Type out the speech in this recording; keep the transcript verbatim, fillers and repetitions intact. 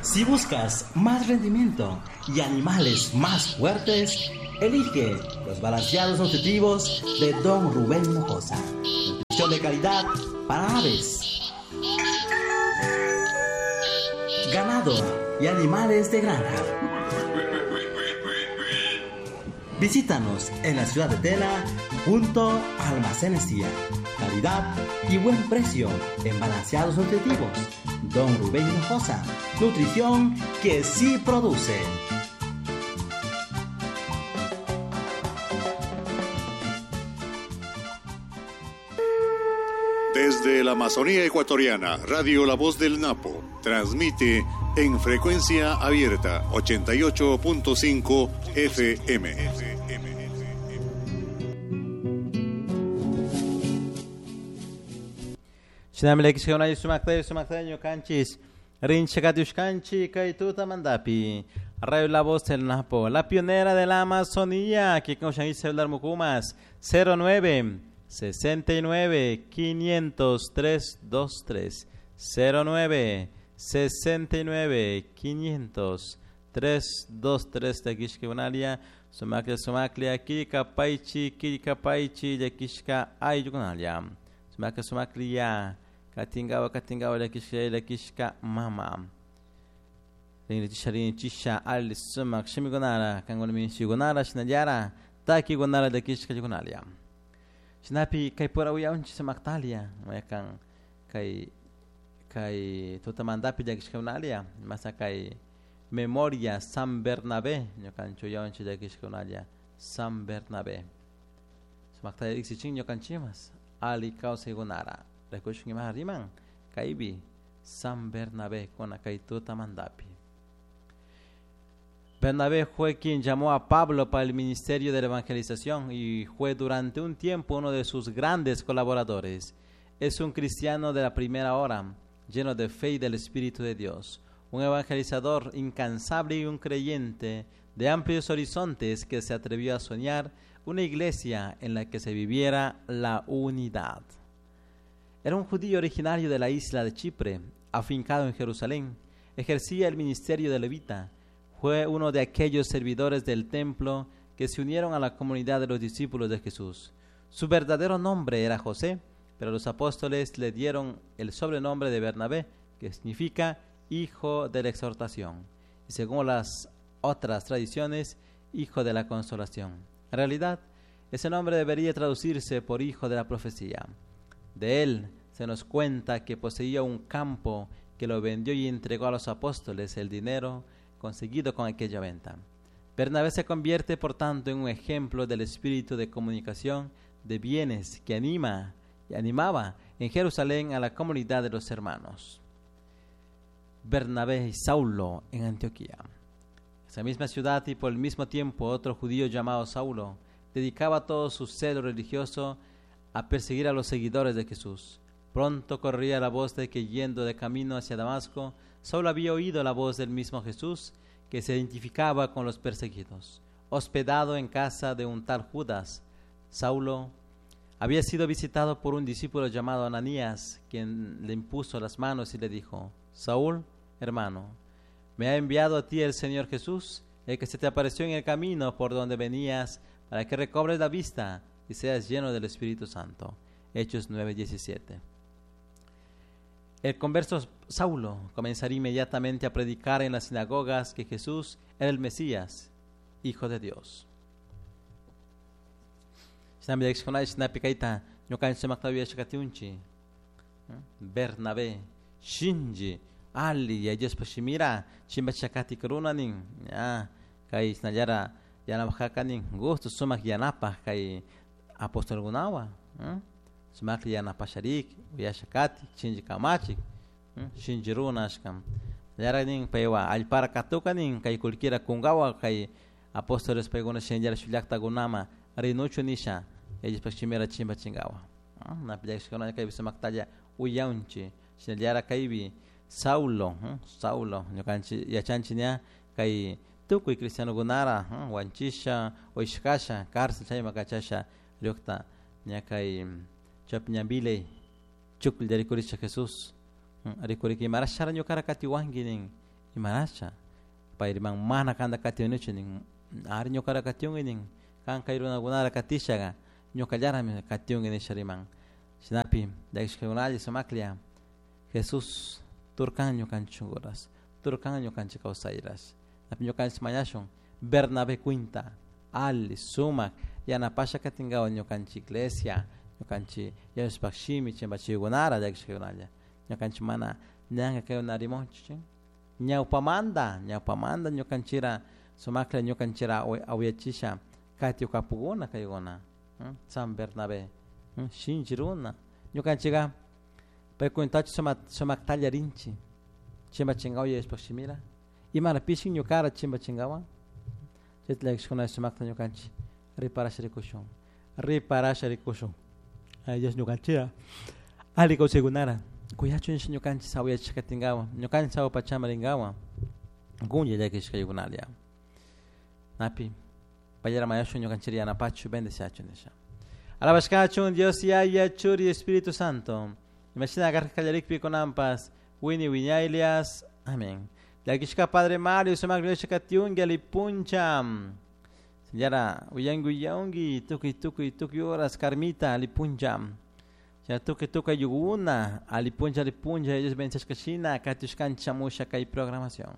Si buscas más rendimiento y animales más fuertes, elige los balanceados nutritivos de Don Rubén Hinojosa. Nutrición de calidad para aves, ganado y animales de granja. Visítanos en la ciudad de Tena, junto a Almacenes Cia. Calidad y buen precio en balanceados nutritivos. Don Rubén Hinojosa, nutrición que sí produce. Desde la Amazonía ecuatoriana, Radio La Voz del Napo transmite en frecuencia abierta ochenta y ocho punto cinco F M. Radio La Voz del Napo, la pionera de la Amazonía, que con celular Mucumas, cero nueve sesenta y nueve quinientos tres dos tres, cero nueve sesenta y nueve quinientos tres dos tres de Kishkebunalia, Sumaklia Sumaklia, Kirika Paichi, Kirika Paichi, de Kishka Ayunalia, Sumaklia Sumaklia, Katingawa Katingawa, de Kishka, de Kishka Mama. Rinichisha Rinichisha, Ali Sumak, Shimigunara, Kangunami Shigunara, Shinayara, Taki Gunara de Kishka Yugunalia. Shinapi kay pura uyaunchi sumaktalia, mayakan kay kay tutamandapi llakishkakunalia, masa kay memoria San Bernabé, ñukanchu uyaunchi llakishkakunalia, San Bernabé. Sumaktalia riksichin ñukanchimas, ali kawsaykunara, rikushun ima riman, kaypi San Bernabé kuna kay tutamandapi. Bernabé fue quien llamó a Pablo para el ministerio de la evangelización y fue durante un tiempo uno de sus grandes colaboradores. Es un cristiano de la primera hora, lleno de fe y del Espíritu de Dios, un evangelizador incansable y un creyente de amplios horizontes que se atrevió a soñar una iglesia en la que se viviera la unidad. Era un judío originario de la isla de Chipre, afincado en Jerusalén. Ejercía el ministerio de levita. Fue uno de aquellos servidores del templo que se unieron a la comunidad de los discípulos de Jesús. Su verdadero nombre era José, pero los apóstoles le dieron el sobrenombre de Bernabé, que significa hijo de la exhortación, y según las otras tradiciones, hijo de la consolación. En realidad, ese nombre debería traducirse por hijo de la profecía. De él se nos cuenta que poseía un campo que lo vendió y entregó a los apóstoles el dinero conseguido con aquella venta. Bernabé se convierte, por tanto, en un ejemplo del espíritu de comunicación de bienes que anima y animaba en Jerusalén a la comunidad de los hermanos. Bernabé y Saulo en Antioquía. Esa misma ciudad y por el mismo tiempo otro judío llamado Saulo dedicaba todo su celo religioso a perseguir a los seguidores de Jesús. Pronto corría la voz de que yendo de camino hacia Damasco, Saulo había oído la voz del mismo Jesús que se identificaba con los perseguidos. Hospedado en casa de un tal Judas, Saulo había sido visitado por un discípulo llamado Ananías, quien le impuso las manos y le dijo: Saúl, hermano, me ha enviado a ti el Señor Jesús, el que se te apareció en el camino por donde venías, para que recobres la vista y seas lleno del Espíritu Santo. Hechos nueve diecisiete. El converso Saulo comenzaría inmediatamente a predicar en las sinagogas que Jesús era el Mesías, Hijo de Dios. Bernabé, Shinji, Ali, Shimira, Chimbachakati Krunanin, Kai Snayara, Yanabhakanin, gusto sumak yanapa, Kai apóstol Gunawa, sumak yanapasharik, Uyashakati, Shinji Kamachik, Shinji Runashkam, Yaranin, Paiwa, Alpara Katukanin, Kai Kulkira Kungawa, Kai apóstoles Paiguna Shinjara Shulakta Gunama, Rinuchu Nisha, ellos Pachimera Chimba Chingawa. Napillakshkuna kaypi sumaktalla uyaunchi, shinallara kaypi Saulo, Saulo, ñukanchik yachanchik ña kay tukuy cristianokunara wanchisha, wishkasha, cárcel chayma kachasha riukta ña kay Imarasha pay riman mana kanta katiunichu nin ari ñukara katiunki nin kan kay runakunara katishaga ñukallarami katiunki nisha riman shinapi llakishkakunalla sumaklla Jesús turkan ñukanchik shunkuras turkan ñukanchik kawsayras napi ñukanchik mañashun Bernabé cuinta ali sumak yanapasha katinkawan ñukanchik iglesia ñukanchik Diospaq shimi chimpachiykunara llakishkakunalla ñukanchik mana ñanka kay rimonchik ñawpamanta ñawpamanta ñukanchira sumaklla ñukanchira awyachisha katiukapukuna kaykuna San Bernabé shinchi runa ñukanchika pay cuentachu sumak sumaktalla rinchik chimpachinkawan Diospaq shimira imara pishin ñukara chimpachinkawan chayta llakishkuna sumakta ñukanchik riparasha rikushun riparasha rikushun ay Dios ñukanchira ali kawsaykunara kuyachun nisha ñukanchik sawayachishka katinkawan ñukanchik sawa pachaman rinkawan kunlla llakishkaykunalla napi payara mañashun ñukanchik yanapachu bendeciachun nisha alabashkachun Dios Yaya Churi Espíritu Santo imashina karka kallarikpi kunanpas wini wiñaylias amén llakishka Padre Mario sumak katiunki alipuncha Señora uyanki uyanki tukuy tukuy tukuy horas Carmita alipuncha ya tukuy tukuy yuguna alipuncha alipuncha ellos bendeciashka shina katiushkanchik shamusha kay programación.